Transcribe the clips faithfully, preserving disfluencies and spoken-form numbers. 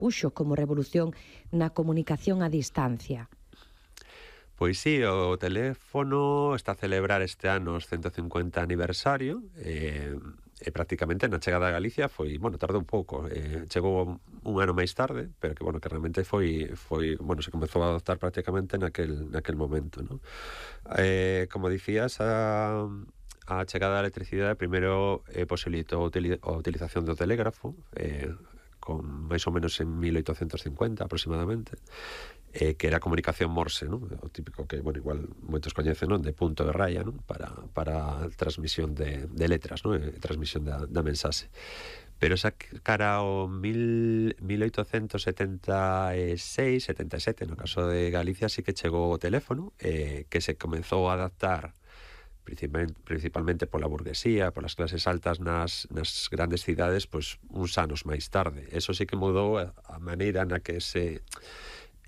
supuxo como revolución na comunicación a distancia? Pois sí, o teléfono está a celebrar este ano os ciento cincuenta aniversario e, e prácticamente na chegada a Galicia foi, bueno, tardou un pouco, eh, chegou un ano máis tarde, pero que, bueno, que realmente foi, foi bueno, se comezou a adoptar prácticamente naquel, naquel momento, ¿no? Eh, como dicías, a, a chegada da electricidade primeiro eh, posibilitou a utilización do telégrafo, eh, con máis ou menos en mil oitocentos cincuenta aproximadamente, eh, que era a comunicación Morse, ¿no? O típico que, bueno, igual moitos coñecen, non? De punto de raya, ¿no? Para, para transmisión de, de letras, ¿no? E transmisión da, da mensaxe. Pero esa cara ao mil, mil oitocentos setenta e seis, setenta e sete, no caso de Galicia, sí que chegou o teléfono, eh, que se comezou a adaptar principalmente pola burguesía, polas clases altas nas, nas grandes cidades, pois uns anos máis tarde. Eso sí que mudou a, a maneira na que se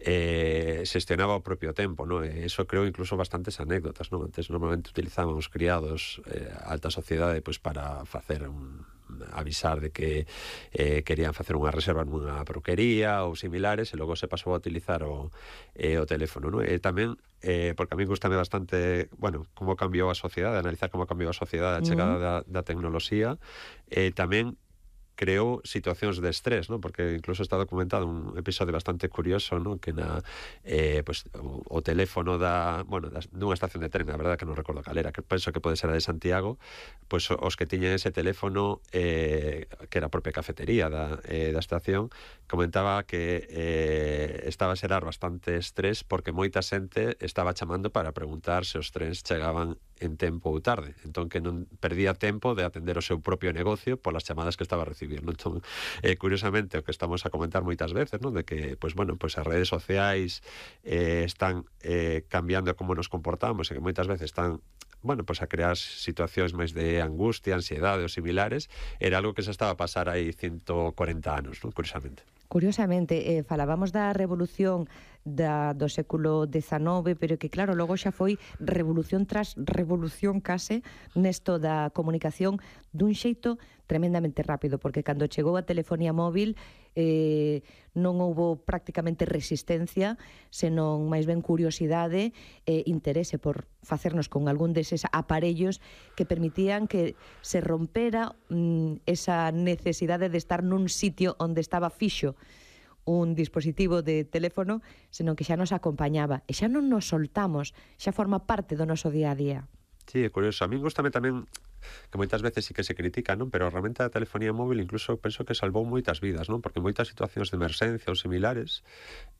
eh, xestionaba o propio tempo, ¿no? E eso creo incluso bastantes anécdotas, ¿no? Antes normalmente utilizaban os criados eh, a alta sociedade pois para facer un avisar de que eh, querían facer unha reserva nunha peluquería ou similares, e logo se pasou a utilizar o, eh, o teléfono, ¿no? E tamén, eh, porque a mí gustame bastante, bueno, como cambiou a sociedade, analizar como cambiou a sociedade a chegada da, da tecnoloxía, e eh, tamén creou situacións de estrés, ¿no? Porque incluso está documentado un episodio bastante curioso, ¿no? Que na eh, pues, o, o teléfono da, bueno, da, dunha estación de tren, a verdade que non recordo cal era, que penso que pode ser a de Santiago, pois pues, os que tiñen ese teléfono eh, que era a propia cafetería da, eh, da estación, comentaba que eh, estaba a xerar bastante estrés porque moita xente estaba chamando para preguntar se os trens chegaban en tempo ou tarde, entón que non perdía tempo de atender o seu propio negocio polas chamadas que estaba a recibir, non? Entón, eh, curiosamente, o que estamos a comentar moitas veces, non? De que, pois, bueno, pois as redes sociais eh, están eh, cambiando como nos comportamos e que moitas veces están, bueno, pois a crear situacións máis de angustia, ansiedade ou similares, era algo que se estaba a pasar aí ciento corenta anos, non? Curiosamente. Curiosamente, eh, falábamos da revolución da, do século dezanove, pero que claro, logo xa foi revolución tras revolución case nesto da comunicación dun xeito tremendamente rápido, porque cando chegou a telefonía móvil eh, non houbo prácticamente resistencia, senón máis ben curiosidade e interese por facernos con algún deses aparellos que permitían que se rompera mm, esa necesidade de estar nun sitio onde estaba fixo un dispositivo de teléfono, senón que xa nos acompañaba e xa non nos soltamos, xa forma parte do noso día a día. Sí, é curioso. A mí gustame tamén que moitas veces sí que se critica, non? Pero realmente a telefonía móvil incluso penso que salvou moitas vidas, non? Porque moitas situacións de emerxencia ou similares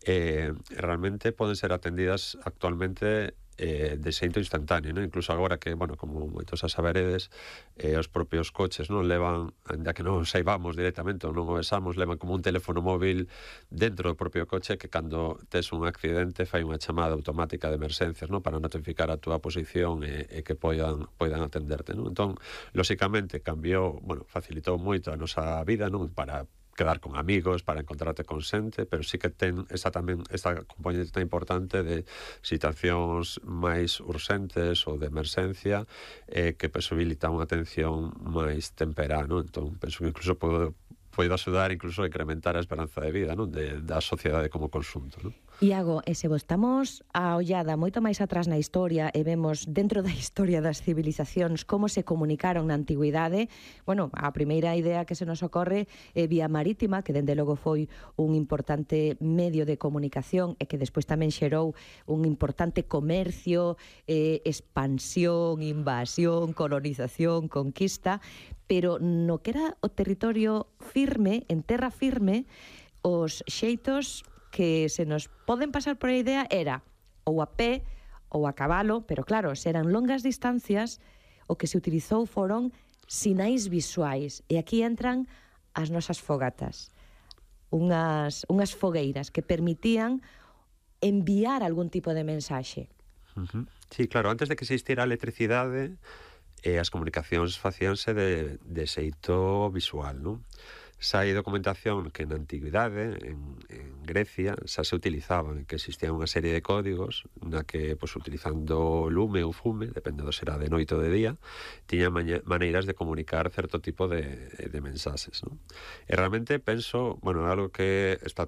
eh, realmente poden ser atendidas actualmente eh, de xeito instantáneo, non? Incluso agora que, bueno, como moitos a saberedes, eh, os propios coches non levan, ainda que non saibamos directamente ou non o vexamos, levan como un teléfono móvil dentro do propio coche que cando tes un accidente fai unha chamada automática de emerxencias, non? Para notificar a túa posición e, e que poidan, poidan atenderte, non? Entón, lóxicamente, cambiou, bueno, facilitou moito a nosa vida, non? Para quedar con amigos, para encontrarte con xente, pero sí que ten esa tamén esta componente importante de situacións máis urxentes ou de emerxencia eh, que posibilita unha atención máis temperá, non? Entón, penso que incluso pode, pode axudar incluso a incrementar a esperanza de vida, non? De, da sociedade como consunto, non? Iago, e se botamos a ollada moito máis atrás na historia e vemos dentro da historia das civilizacións como se comunicaron na antigüidade, bueno, a primeira idea que se nos ocorre é vía marítima, que dende logo foi un importante medio de comunicación e que despois tamén xerou un importante comercio, eh, expansión, invasión, colonización, conquista, pero no que era o territorio firme, en terra firme, os xeitos que se nos poden pasar por a idea era ou a pé ou a cabalo, pero claro, se eran longas distancias, o que se utilizou foron sinais visuais, e aquí entran as nosas fogatas, unhas, unhas fogueiras que permitían enviar algún tipo de mensaxe. Uh-huh. Sí, claro, antes de que existira a electricidade, eh, as comunicacións facíanse de, de xeito visual, non? Xa hai documentación que na antigüidade, en, en Grecia, xa se utilizaban, que existía unha serie de códigos na que, pois, utilizando lume ou fume, depende do será de noite ou de día, tiña maneiras de comunicar certo tipo de, de mensaxes, non? E realmente penso, bueno, algo que está